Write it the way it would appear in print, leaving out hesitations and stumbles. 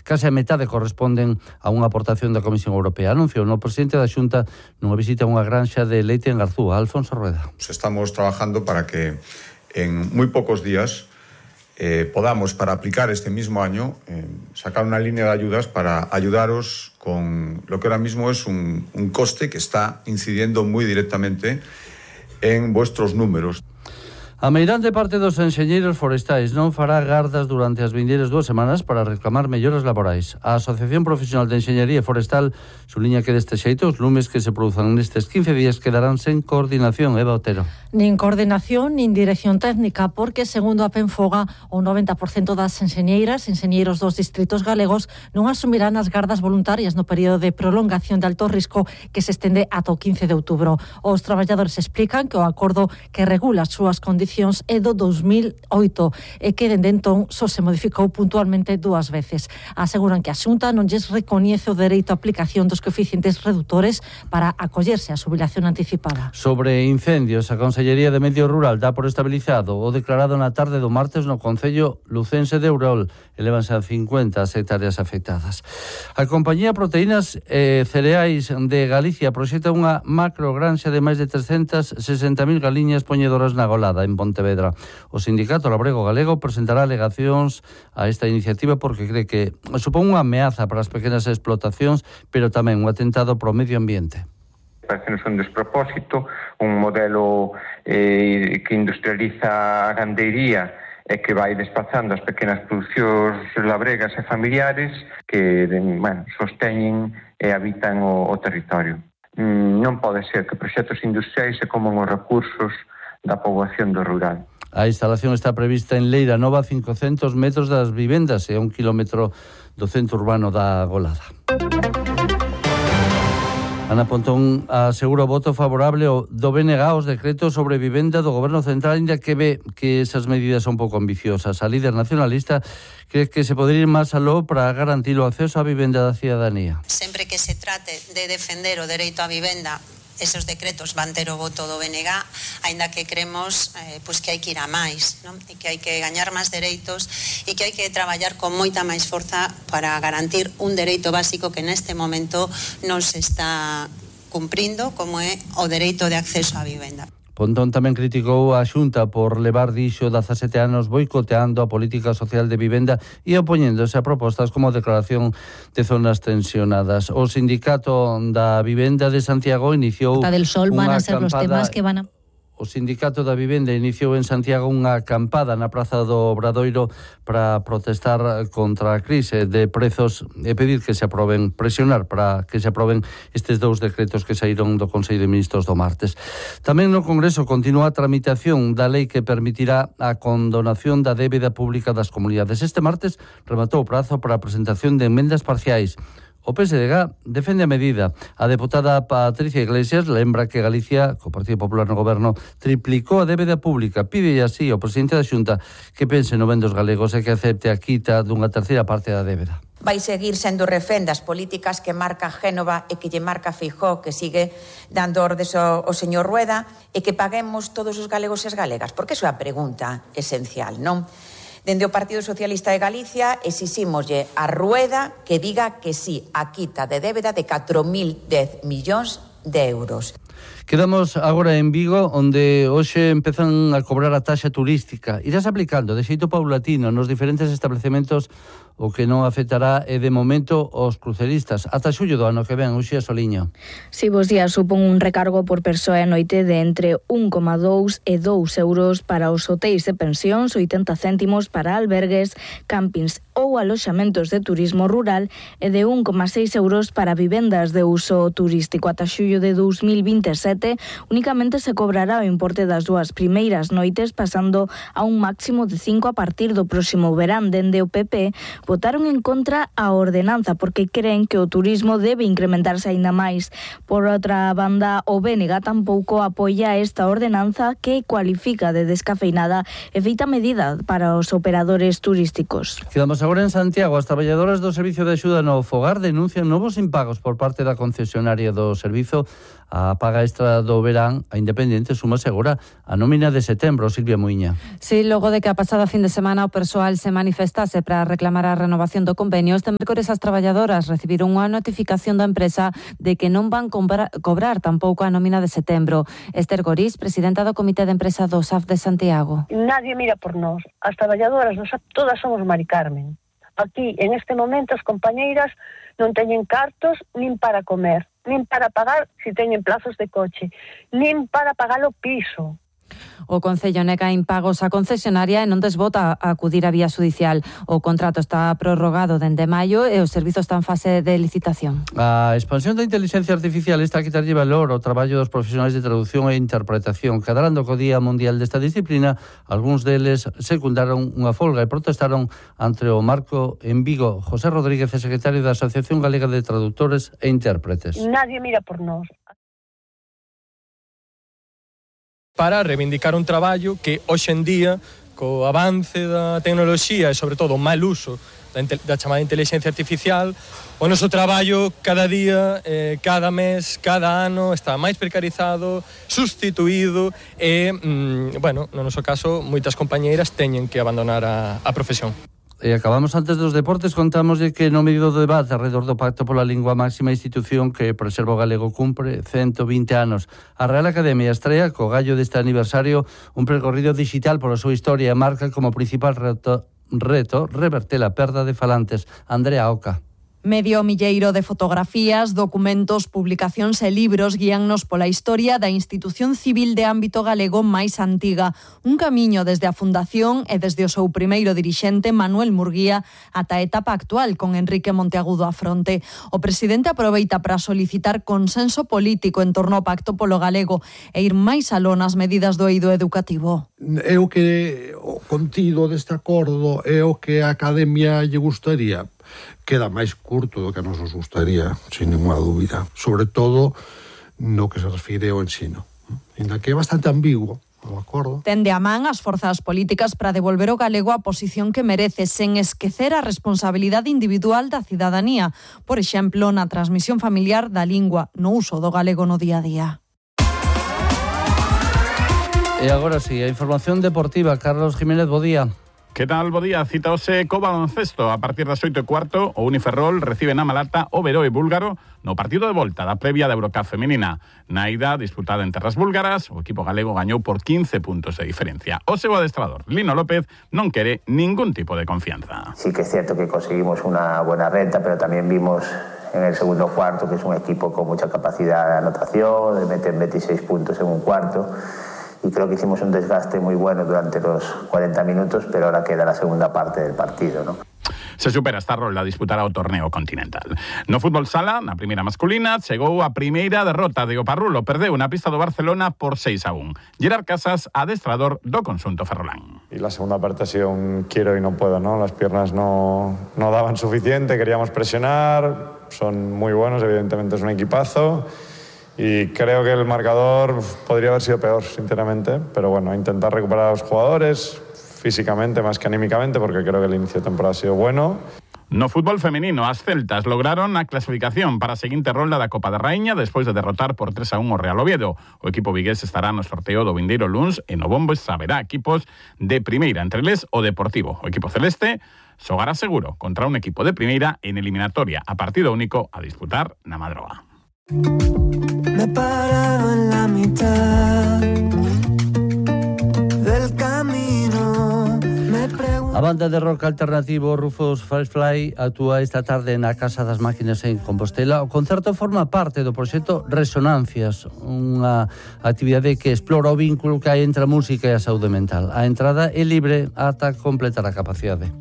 Case a metade corresponden a unha aportación da Comisión Europea. Anunciou no presidente da Xunta nunha visita a unha granxa de leite en Garzúa. Alfonso Rueda. Estamos trabajando para que en muy pocos días podamos, para aplicar este mismo año, sacar una línea de ayudas para ayudaros con lo que ahora mismo es un coste que está incidiendo muy directamente en vuestros números. A meirande parte dos enxeñeiros forestais non fará gardas durante as vindeiras 2 semanas para reclamar melloras laborais. A Asociación Profesional de Enxeñería Forestal suliña que deste xeito os lumes que se produzan nestes 15 días quedarán sen coordinación. Eva Otero. Nin coordinación, nin dirección técnica, porque, segundo a Penfoga, o 90% das enxeñeiras, enxeñeiros dos distritos galegos non asumirán as gardas voluntarias no período de prolongación de alto risco que se estende ata o 15 de outubro. Os traballadores explican que o acordo que regula as súas condicións é do 2008 e que dende entón só se modificou puntualmente 2 veces. Aseguran que a Xunta non lles recoñece o dereito á aplicación dos coeficientes redutores para acollerse á xubilación anticipada. Sobre incendios, a Consellería de Medio Rural dá por estabilizado o declarado na tarde do martes no concello lucense de Eurol. Elévanse a 50 as hectáreas afectadas. A compañía Proteínas e Cereais de Galicia proxecta unha macrogranxa de máis de 360.000 galiñas poñedoras na Golada, en Pontevedra. O Sindicato Labrego Galego presentará alegacións a esta iniciativa porque cree que supón unha ameaza para as pequenas explotacións, pero tamén un atentado pro medio ambiente. Parece un despropósito, un modelo que industrializa a gandeiría e que vai despazando as pequenas producións labregas e familiares que sosteñen e habitan o territorio. Non pode ser que proxectos industriais se coman os recursos da poboación do rural. A instalación está prevista en Leira Nova, 500 metros das vivendas e 1 kilómetro do centro urbano da Golada. Ana Pontón asegura o voto favorable do BNG aos decretos sobre vivenda do Goberno Central, ainda que ve que esas medidas son pouco ambiciosas. A líder nacionalista cree que se pode ir máis aló para garantir o acceso á vivenda da cidadanía. Sempre que se trate de defender o dereito á vivenda, esos decretos van ter o voto do BNG, aínda que creemos que hai que ir a máis, non? E que hai que gañar máis dereitos e que hai que traballar con moita máis forza para garantir un dereito básico que neste momento non se está cumprindo, como é o dereito de acceso á vivenda. Pontón tamén criticou a Xunta por levar, dixo, 17 anos boicoteando a política social de vivenda e opoñéndose a propostas como a declaración de zonas tensionadas. O Sindicato da Vivenda de Santiago iniciou Costa del Sol van a ser los temas que van a... O Sindicato da Vivenda iniciou en Santiago unha acampada na Praza do Obradoiro para protestar contra a crise de prezos e pedir que se aproben, presionar para que se aproben estes 2 decretos que saíron do Consello de Ministros do martes. Tamén no Congreso continúa a tramitación da lei que permitirá a condonación da débeda pública das comunidades. Este martes rematou o prazo para a presentación de emendas parciais. O PSDG defende a medida. A deputada Patricia Iglesias lembra que Galicia, co Partido Popular no Goberno, triplicou a débeda pública. Pide así ao presidente da Xunta que pense no ben dos galegos e que acepte a quita dunha terceira parte da débeda. Vai seguir sendo refén das políticas que marca Génova e que lle marca Feijóo, que sigue dando ordes ao señor Rueda, e que paguemos todos os galegos e as galegas? Porque iso é a pregunta esencial, non? Dende o Partido Socialista de Galicia exixímoslle a Rueda que diga que sí a quita de débeda de 4.010 millóns de euros. Quedamos agora en Vigo, onde hoxe empezan a cobrar a taxa turística. Irás aplicando de xeito paulatino nos diferentes establecementos, o que non afectará é de momento os cruceristas. Ata xullo do ano que ven, Uxía Soliño. Si, bos días, supón un recargo por persoa e noite de entre 1,2 e 2 euros para os hotéis de pensións, 80 céntimos para albergues, campings ou aloxamentos de turismo rural e de 1,6 euros para vivendas de uso turístico. Ata xullo de 2027 únicamente se cobrará o importe das 2 primeiras noites, pasando a un máximo de 5 a partir do próximo verán. Dende o PP votaron en contra a ordenanza porque creen que o turismo debe incrementarse aínda máis. Por outra banda, o BNG tampouco apoia esta ordenanza que cualifica de descafeinada e feita medida para os operadores turísticos. Quedamos agora en Santiago. As traballadoras do Servicio de Axuda no Fogar denuncian novos impagos por parte da concesionaria do servizo. A paga extra do verán, a Independente suma segura a nómina de setembro. Silvia Muiña. Sí, logo de que a pasada fin de semana o persoal se manifestase para reclamar a renovación do convenio, este mércores as traballadoras recibiron unha notificación da empresa de que non van cobrar tampouco a nómina de setembro. Esther Gorís, presidenta do Comité de Empresa do SAF de Santiago. Nadie mira por nós. As traballadoras do SAF todas somos Mari Carmen. Aquí, en este momento, as compañeiras non teñen cartos nin para comer, nin para pagar se teñen plazos de coche, nin para pagar o piso. O Concello nega impagos á concesionaria e non desbota a acudir á vía judicial. O contrato está prorrogado dende maio e o servizo está en fase de licitación. A expansión da inteligencia artificial está a quitarlle valor ao traballo dos profesionais de traducción e interpretación. Cadrando co Día Mundial desta disciplina, algúns deles secundaron unha folga e protestaron ante o marco en Vigo. José Rodríguez é secretario da Asociación Galega de Traductores e Intérpretes. Nadie mira por nós. Para reivindicar un traballo que hoxe en día, co avance da tecnoloxía e sobre todo o mal uso da chamada inteligencia artificial, o noso traballo cada día, cada mes, cada ano está máis precarizado, sustituído e, bueno, no noso caso, moitas compañeiras teñen que abandonar a profesión. E acabamos antes dos deportes, contámoslle que no medio do debate alrededor do Pacto pola Lingua, máxima institución que preserva o galego cumpre 120 anos. A Real Academia estrea, co gallo deste aniversario, un percorrido digital pola súa historia e marca como principal reto reverter a perda de falantes. Andrea Oca. Medio milleiro de fotografías, documentos, publicacións e libros guíannos pola historia da institución civil de ámbito galego máis antiga. Un camiño desde a fundación e desde o seu primeiro dirixente, Manuel Murguía, ata a etapa actual con Enrique Monteagudo á fronte. O presidente aproveita para solicitar consenso político en torno ao Pacto polo Galego e ir máis aló nas medidas do eido educativo. É o que o contido deste acordo é o que a Academia lle gustaría. Queda máis curto do que nos gustaría, sin ninguna dúbida. Sobre todo no que se refire ao ensino. Ainda que é bastante ambiguo o acordo. Tende a man as forzas políticas para devolver o galego á posición que merece, sen esquecer a responsabilidade individual da cidadanía. Por exemplo, na transmisión familiar da lingua, no uso do galego no día a día. E agora sí, a información deportiva. Carlos Jiménez, bo día. Que tal, bo día? Cita hoxe co baloncesto. A partir das 8:15, o Uniferrol recibe na Malata o Veroe búlgaro no partido de volta da previa da Eurocup feminina. Na ida, disputada en terras búlgaras, o equipo galego gañou por 15 puntos de diferencia. O seu adestrador, Lino López, non quere ningún tipo de confianza. Sí que es cierto que conseguimos una buena renta, pero también vimos en el segundo cuarto que es un equipo con mucha capacidad de anotación, de meter 26 puntos en un cuarto. Y creo que hicimos un desgaste muy bueno durante los 40 minutos, pero ahora queda la segunda parte del partido, ¿no? Se supera esta rolda a disputar ao torneo continental. No fútbol sala, na primeira masculina, chegou a primeira derrota de Oparrulo. Perdeu na pista do Barcelona por 6-1. Gerard Casas, adestrador do conxunto ferrolán. Y la segunda parte ha sido un quiero y no puedo, ¿no? Las piernas no daban suficiente, queríamos presionar, son muy buenos, evidentemente es un equipazo. Y creo que el marcador podría haber sido peor, sinceramente. Pero bueno, intentar recuperar a los jugadores físicamente más que anímicamente, porque creo que el inicio de temporada ha sido bueno. No fútbol femenino, as celtas lograron a clasificación para a seguinte rolda da Copa da Raíña despois de derrotar por 3-1 o Real Oviedo. O equipo vigués estará no sorteo do vindeiro luns e no bombo saberá equipos de primeira, entre eles o Deportivo. O equipo celeste xogará seguro contra un equipo de primeira en eliminatoria a partido único a disputar na Madroa. Me he parado en la mitad del camino. A banda de rock alternativo Rufus Firefly actúa esta tarde na Casa das Máquinas en Compostela. O concerto forma parte do proxecto Resonancias, unha actividade que explora o vínculo que hai entre a música e a saúde mental. A entrada é libre ata completar a capacidade.